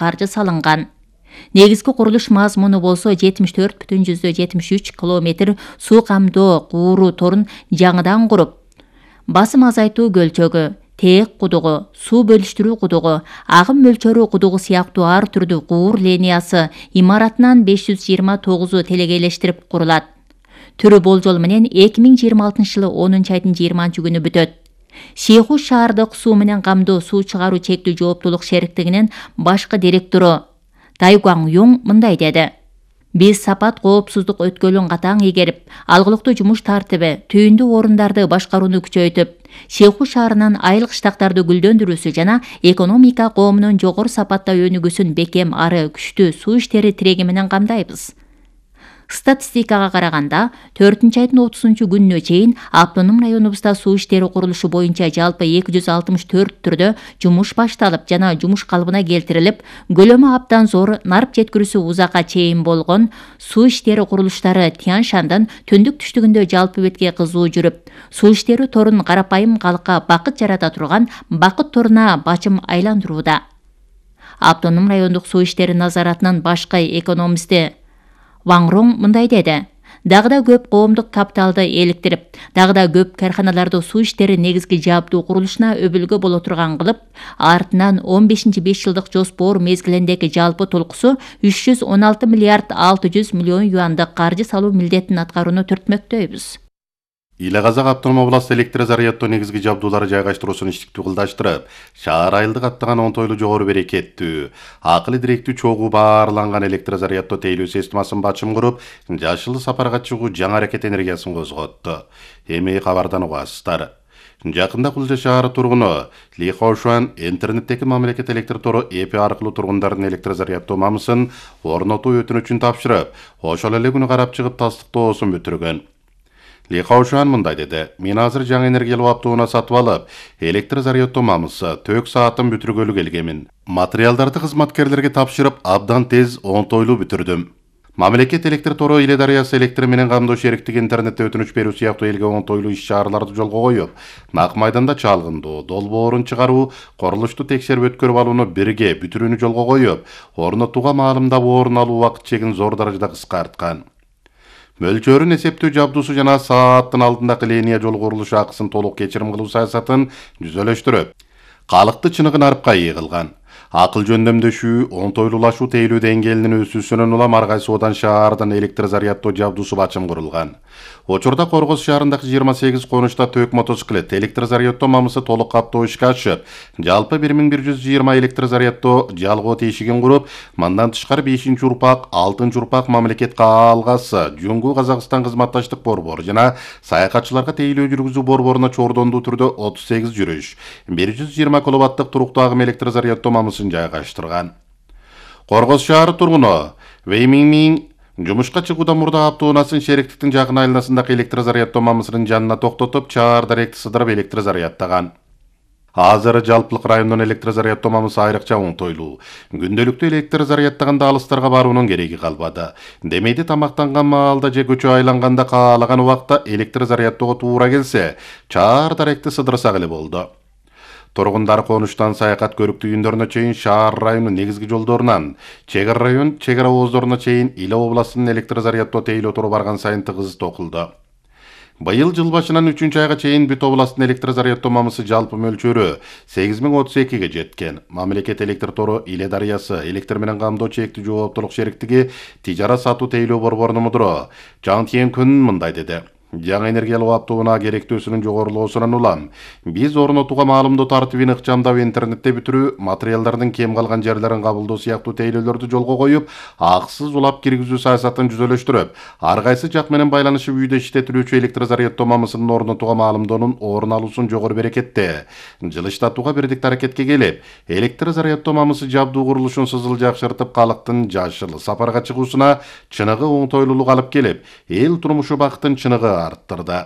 каржы салынган. Негизги курулуш мазмуну болсо 74,73 километр суу камдоо кууру торун жаңыдан куруп, басым азайтуу көлчөгү, тээк кудугу, суу бөлүштүрүү кудугу, агым мөлчөрү кудугу сыяктуу ар түрдүү куур линиясы имаратынан 529 телегейлештирип курулат. Түрү болжол менен 2026-жылы 10-айдын 20-күнү бүтөт. Шейхуш шаардык суу менен камдоо суу чыгаруу чектүү жооптуулук шериктигинин башкы директору Тайгуан Юң мындай деди: Биз сапат коопсуздук өткөлүн катаң игерип, алгылыктуу жумуш тартиби, түйүндүү орундарды башкарууну күчөйтүп, Шейхуш шаарынын айыл кыштактарды гүлдөндүрүүсү жана экономика коомунун жогору сапатта өнүгүүсүн бекем ары күчтүү суу иштери тиреги менен камдайбыз. Статистикага караганда 4-айдын 30-күнүнө чейин автоном районубузда суу иштери курулушу боюнча жалпы 264 түрдө жумуш башталып жана жумуш калыбына келтирилип, көлөмү абдан зор, нарып жеткирүүсү узакка чейин болгон суу иштери курулуштары Тянь-Шандан түндүк түштүгүндө жалпы бетке кызуу жүрүп, суу иштери торун карапайым калкка бакыт жарата турган бакыт торуна бачым айландырууда. Автоном райондук суу иштери назаратынын башкы экономисти Ван Роң мындай деди: Дагы да көп коомдук капиталды эликтирип, дагы да көп карханаларды суу иштери негизги жабдуу курулушуна өбүлгө боло турган кылып, артынан 15-5 жылдык жоспор мезгилиндеги жалпы толкусу 316 миллиард 600 миллион юандык каржы салуу милдетин аткарууну түртмөктөйбүз. Иле Казак автоном областы электр заряддоо негизги жабдуулары жайгаштыруусун иштиктүү кылдаштырып, шаар айылды каттаган онтойлуу жогору берекеттүү, акылы директүү чогуу баарланган электр заряддоо тейлөө системасын бачым куруп, жашыл сапарга чыгуу жаңы аракет энергиясын козготту. Эми кабардан угасыздар. Жакында Кулжа шаары тургуну Ли Хаошуан интернеттеги мамлекет электр тору ЭП аркылуу тургундардын электр заряддоо мамысын орнотуу өтүнүчүн тапшырып, ошол эле күнү карап чыгып тастыктоосун бүтүргөн. Ли Хаошуан мындай деди: Мен азыр жаңы энергиялуу автоунаа сатып алып, электр заряддоо мамысы 4 саатын бүтүргөлү келгемин. Материалдарды кызматкерлерге тапшырып, абдан тез онтойлуу бүтүрдүм. Мамлекет электр тору Иле дарыясы электр менен камдоо шериктиги интернетте өтүнүч берүү сыяктуу элге онтойлуу иш-чараларды жолго коюп, Нак майданда чалгындоо, долбоорун чыгаруу, курулушту текшерип өткөрүп алууну бирге бүтүрүүнү жолго коюп, орнотууга маалымдап орун алуу убакыт чегин зор даражада кыскарткан. Мөлчөрүн эсептөө жабдуусу жана сааттын алдындагы линия жол курулушу акысын толук кечирим кылуу саясатын жүзөлөштүрүп, калыкты чыныгы нарыпка ээ кылган. Акыл жөндөмдөшүү, онтойлуулашуу тейлөө деңгээлинин өсүүсүнөн улам ар кайсы одан шаардан электр заряддоо жабдуусу бачым курулган. Учурда Коргоз шаарындагы 28 конучта төөк мотоциклет электр заряддоо мамысы толук каптоо ишке ашып, жалпы 1120 электр заряддоо жалгоо тешигин куруп, мындан тышкары 5-урпак, 6-урпак мамлекет каалгасы, Жуңгу Казакстан кызматташтык борбору жана саякатчыларга тейлөө жүргүзүү борборуна чордондуу түрдө 38 жүрүш, 120 киловаттык туруктуу агым электр заряддоо мамысын жайгаштырган. Коргоз шаары тургуну Вэй Минмин жумушка чыгуудан мурда автоунаасын шериктиктин жакын айланасындагы электр заряддоо мамысынын жанына токтотуп, чаар даректи сыдырып электр заряддаган. Азыр жалпылык райондон электр заряддоо мамысы айрыкча оңтойлуу. Күндөлүктүү электр заряддаганда алыстарга баруунун кереги калбады. Демейде тамактанган маалда же көчө айланганда каалаган убакта электр заряддоого туура келсе, чаар даректи сыдырсак эле болду. Тургундар конуштан саякат көрүктүү үйүндөрүнө чейин, шаар районунун негизги жолдорунан чек район, чек ооздоруна чейин Иле областынын электр заряддоо тейлөө тору барган сайын тыгыз токулду. Быйыл жыл башынан 3-айга чейин бүт областтын электр заряддоо мамысы жалпы мөлчөрү 8032-ге жеткен. Мамлекет электр тору Иле дарыясы электр менен камдоо чектүү жооптуулук шериктиги тижарат сатуу тейлөө борборунун мудуру Жан Тьен Күн мындай деди: Жаңы энергиялуу автоунаа керектөөсүнүн жогорулоосунан улам биз орнотууга маалымдоо тартибин ыкчамдап интернетте бүтүрүү, материалдардын кем калган жерлерин кабылдоо сыяктуу тейлөөлөрдү жолго коюп, акысыз улап киргизүү саясатын жүзөлөштүрүп, ар кайсы жак менен байланышып үйдө иштетилүүчү электр заряддоо мамысынын орнотууга маалымдоонун орун алуусун жогору берекетте жылыштатууга бирдикте аракетке келип, электр заряддоо мамысы жабдуу курулушун сызыл жакшыртып, калыктын жашыл сапарга чыгуусуна чыныгы оңтойлуулук алып келип, эл турмушу бакытын чыныгы арттырды.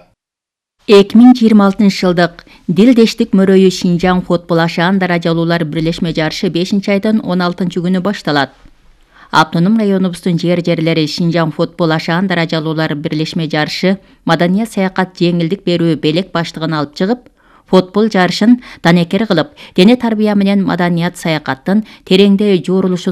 2026-жылдык Дилдештик мөрөйү Шинжаң футбол ашаан даражалуулар бирлешме жарышы 5-айдын 16-күнү башталат. Автоном районубуздун жерлери Шинжаң футбол ашаан даражалуулар бирлешме жарышы маданият саякат жеңилдик берүү белек баштыгын алып чыгып, футбол жарышын данекер кылып, дене тарбия менен маданият саякаттын тереңде жоорулушу